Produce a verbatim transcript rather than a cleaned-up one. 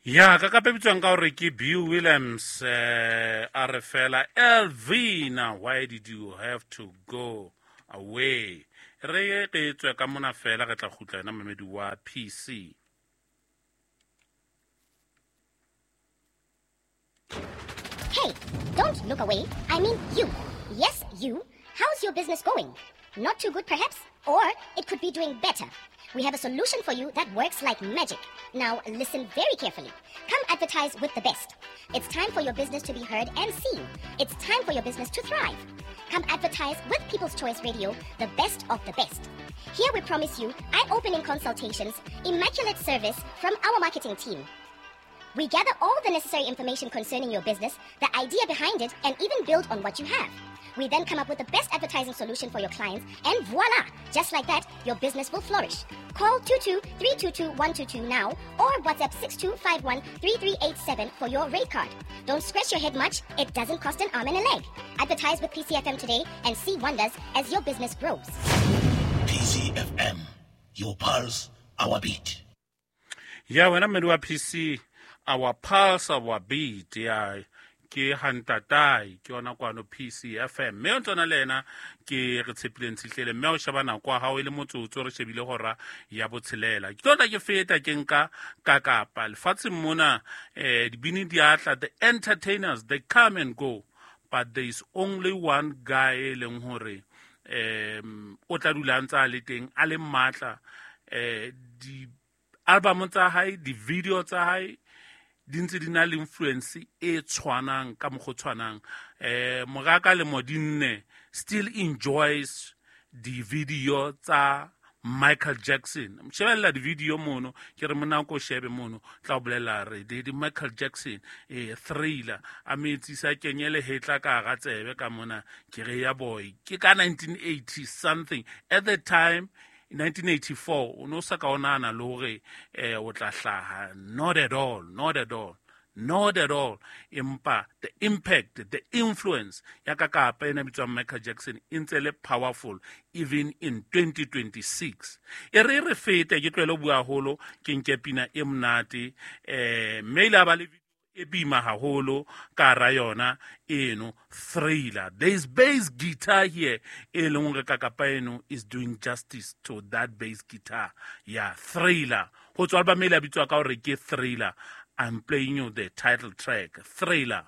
Ya ka kape bitswang ka hore ke Bill Williams eh a re fela Elvina, why did you have to go away? Re ke tswe ka mona fela re tla kgutla yena mamedi wa P C. Hey, don't look away. I mean you. Yes, you. How's your business going? Not too good perhaps? Or it could be doing better. We have a solution for you that works like magic. Now listen very carefully. Come advertise with the best. It's time for your business to be heard and seen. It's time for your business to thrive. Come advertise with People's Choice Radio, the best of the best. Here we promise you eye-opening consultations, immaculate service from our marketing team. We gather all the necessary information concerning your business, the idea behind it, and even build on what you have. We then come up with the best advertising solution for your clients, and voila! Just like that, your business will flourish. Call two two three two two one two two now or WhatsApp six two five one three three eight seven for your rate card. Don't scratch your head much. It doesn't cost an arm and a leg. Advertise with P C F M today and see wonders as your business grows. P C F M, your pulse, our beat. Yeah, when I'm in P C, our pulse, our beat, yeah. Ke hantatai ke yona kwano P C F M mme o ntsona le ena ke re tshepileng tshihlele mme o sheba nako ya hao e le motsotso re shebile hora ya botshelela ke tlo tla ke feta ke nka ka kapa lefatsheng mona eh dibini di atla, the entertainers they come and go, but there is only one guy e leng hore um o tla dula ntse a le teng a le matla eh di album tsa hae di video tsa hae di ntse di na le influence e tshwanang ka mokgwa tshwanang eh moraka le modinne still enjoys the video tsa Michael Jackson. Shebella di video mono ke re mona ko shebe mono tla o bolela re di Michael Jackson eh Thriller a metsi sa kenyele hetla ka ga tsebe ka mona ke re ya boy ke ka nineteen eighty something at the time nineteen eighty-four o no sa ka onana le hore eh o tla hlaha. Not at all, not at all, not at all. Empa the impact, the influence ya ka kapa ena bitswang Michael Jackson e ntse le powerful even in twenty twenty-six. E re re fete ke tlwele bua haholo ke nke pina e monate eh mme ile ba le e bima haholo ka ra yona eno Thriller. There is bass guitar here e leng hore kakapa eno is doing justice to that bass guitar. Yeah, Thriller. Ho tswa album e le bitswa ka hore ke Thriller. I'm playing you the title track, Thriller.